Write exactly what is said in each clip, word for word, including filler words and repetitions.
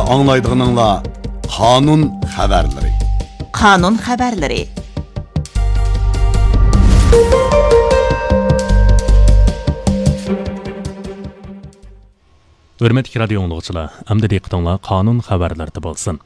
ئاڭلايدىغىنىڭلار قانۇن خەۋەرلىرى. قانۇن خەۋەرلىرى. ھۆرمەتلىك رادىيو ئاڭلىغۇچىلار، ئەمدى دىققىتىڭلار قانۇن خەۋەرلىرىدە بولسۇن.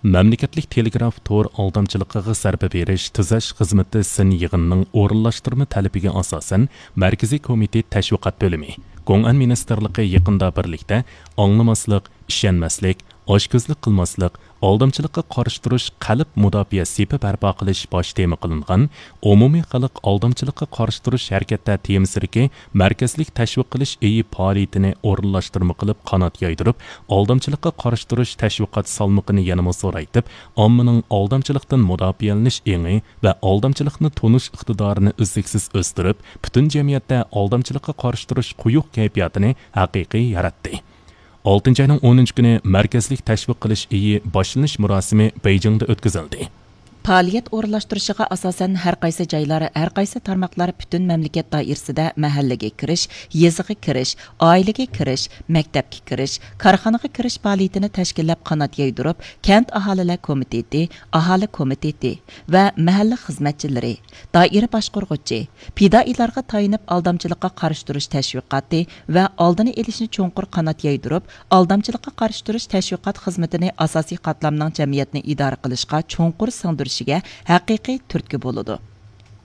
مەملىكەتلىك تېلېگراف تور ئالدامچىلىقىغا زەربە بېرىش تۈزەش خىزمىتى سىن يىغىنىنىڭ ئورۇنلاشتۇرما تەلىپىگە ئاساسەن، مەركىزىي كومىتېت تەشۋىقات بۆلۈمى، گوڭئەن مىنىستىرلىقى يېقىندا بىرلىكتە ئاڭلىماسلىق، ئىشەنمەسلىك، ئاچكۆزلۈك قىلماسلىق، ئالدامچىلىققا قارشى تۇرۇش قەلب مۇداپىئە سېپى بەرپا قىلىش باش تېما قىلىنغان ئومۇمىي خەلق ئالدامچىلىققا قارشى تۇرۇش ھەرىكەتتە تېمىسىدىكى مەركەزلىك تەشۋىق قىلىش ئېيى پائالىيىتىنى ئورۇنلاشتۇرما قىلىپ قانات يايدۇرۇپ، ئالدامچىلىققا قارشى تۇرۇش تەشۋىقات سالمىقىنى يەنىمۇ زورايتىپ، ئاممىنىڭ ئالدامچىلىقتىن مۇداپىئەلىنىش ئېڭى ۋە ئالدامچىلىقنى تونۇش ئىقتىدارىنى ئۈزلۈكسىز ئۆستۈرۈپ، پۈتۈن جەمئىيەتتە ئالدامچىلىققا قارشى تۇرۇش قويۇق كەيپىياتىنى ھەقىقىي ياراتتى. ئالتىنچى ئاينىڭ ئونىنچى كۈنى مەركەزلىك تەشۋىق قىلىش ئېيى باشلىنىش مۇراسىمى بېيجىڭدا ئۆتكۈزۈلدى. پائالىيەت ئورۇنلاشتۇرۇشىغا ئاساسەن، ھەر قايسى جايلار، ھەر قايسى تارماقلار پۈتۈن مەملىكەت دائىرىسىدە مەھەللىگە كىرىش، يېزىغا كىرىش، ئائىلىگە كىرىش، مەكتەپكە كىرىش، كارخانىغا كىرىش پائالىيىتىنى تەشكىللەپ قانات يايدۇرۇپ، كەنت ئاھالىلەر كومىتېتى، ئاھالە كومىتېتى ۋە مەھەللە خىزمەتچىلىرى، دائىرە باشقۇرغۇچى، پىدائىيلارغا تايىنىپ ئالدامچىلىققا قارشى تۇرۇش تەشۋىقاتى ۋە ئالدىنى ئېلىشنى چوڭقۇر قانات يايدۇرۇپ، ئالدامچىلىققا قارشى تۇرۇش تەشۋىقات خىزمىتىنى ئاساسىي قاتلامنىڭ جەمئىيەتنى ئىدارە قىلىشقا چوڭقۇر سىڭدۈرۈشىگە ھەقىقىي تۈرتكە بولىدۇ.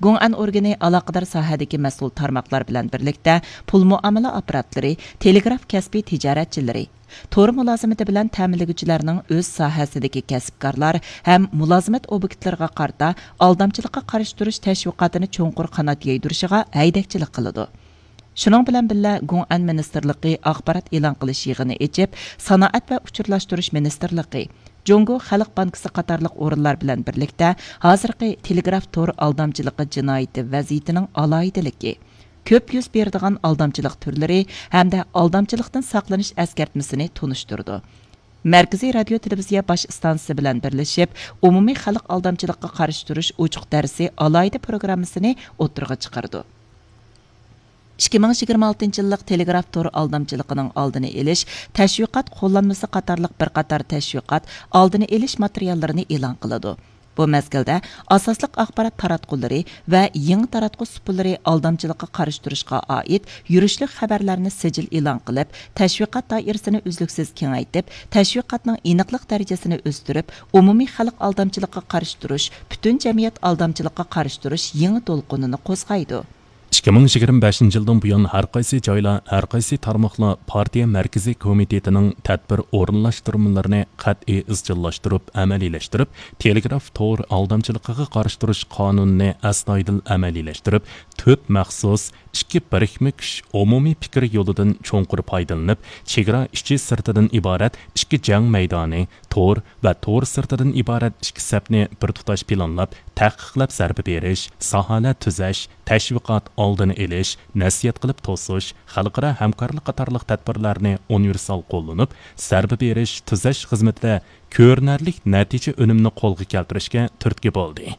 گوڭئەن ئورگىنى ئالاقىدار ساھەدىكى مەسئۇل تارماقلار بىلەن بىرلىكتە پۇل مۇئامىلە ئاپپاراتلىرى، تېلېگراف كەسپى تىجارەتچىلىرى، تور مۇلازىمىتى بىلەن تەمىنلىگۈچىلەرنىڭ ئۆز ساھەسىدىكى كەسىپكارلار ھەم مۇلازىمەت ئوبيېكتلىرىغا قارىتا ئالدامچىلىققا قارشى تۇرۇش تەشۋىقاتىنى چوڭقۇر قانات يايدۇرۇشىغا ھەيدەكچىلىك قىلىدۇ. شۇنىڭ بىلەن بىللە، گوڭئەن مىنىستىرلىقى ئاخبارات ئېلان قىلىش يىغىنى ئېچىپ، سانائەت ۋە ئۇچۇرلاشتۇرۇش مىنىستىرلىقى، جۇڭگو خەلق بانكىسى قاتارلىق ئورۇنلار بىلەن بىرلىكتە ھازىرقى تېلېگراف تور ئالدامچىلىقى جىنايىتى ۋەزىيىتىنىڭ ئالاھىدىلىكى، كۆپ يۈز بېرىدىغان ئالدامچىلىق تۈرلىرى ھەمدە ئالدامچىلىقتىن ساقلىنىش ئەسكەرتمىسىنى تونۇشتۇردى. مەركىزىي رادىيو تېلېۋىزىيە باش ئىستانسىسى بىلەن بىرلىشىپ، ئومۇمىي خەلق ئالدامچىلىققا قارشى تۇرۇش ئوچۇق دەرسى ئالاھىدە پروگراممىسىنى ئوتتۇرىغا چىقىرىدۇ. ئىككى مىڭ يىگىرمە ئالتىنچى يىللىق تېلېگراف تور ئالدامچىلىقىنىڭ ئالدىنى ئېلىش، تەشۋىقات قوللانمىسى قاتارلىق بىر قاتار تەشۋىقات ئالدىنى ئېلىش ماتېرىياللىرىنى ئېلان قىلىدۇ. بۇ مەزگىلدە ئاساسلىق ئاخبارات تاراتقۇلىرى ۋە يېڭى تاراتقۇ سۇپىلىرى ئالدامچىلىققا قارشى تۇرۇشقا ئائىت يۈرۈشلۈك خەۋەرلەرنى سىجىل ئېلان قىلىپ، تەشۋىقات دائىرىسىنى ئۈزلۈكسىز كېڭەيتىپ، تەشۋىقاتنىڭ ئېنىقلىق دەرىجىسىنى ئۆستۈرۈپ، ئومۇمىي خەلق ئالدامچىلىققا قارشى تۇرۇش، پۈتۈن جەمئىيەت ئالدامچىلىققا قارشى تۇرۇش يېڭى دولقۇنىنى قوزغايدۇ. ئىككى مىڭ يىگىرمە بەشىنچى يىلدىن بۇيان، ھەر قايسى جايلار، ھەر قايسى تارماقلار پارتىيە مەركىزىي كومىتېتىنىڭ تەدبىر ئورۇنلاشتۇرمىلىرىنى قەتئىي ئىزچىللاشتۇرۇپ ئەمەلىيلەشتۈرۈپ، تېلېگراف تور ئالدامچىلىقىغا قارشى تۇرۇش قانۇنىنى ئەستايىدىل ئەمەلىيلەشتۈرۈپ، تۆت مەخسۇس، ئىككى بىرىكمە كۈچ ئومۇمىي پىكىر يولىدىن چوڭقۇر پايدىلىنىپ، چېگرا ئىچى سىرتىدىن ئىبارەت ئىككى جەڭ مەيدانى، تور ۋە تور سىرتىدىن ئىبارەت ئىككى سەپنى بىر تۇتاش پىلانلاپ، تەھقىقلەپ زەربە بېرىش، ساھەلەر تۈزەش، تەشۋىقات، ئالدىنى ئېلىش، نەسىھەت قىلىپ توسۇش، خەلقئارا ھەمكارلىق قاتارلىق تەدبىرلەرنى ئۇنىۋېرسال قوللىنىپ، زەربە بېرىش، تۈزەش خىزمىتىدە كۆرۈنەرلىك نەتىجە ئۈنۈمنى قولغا كەلتۈرۈشكە تۈرتكە بولدى.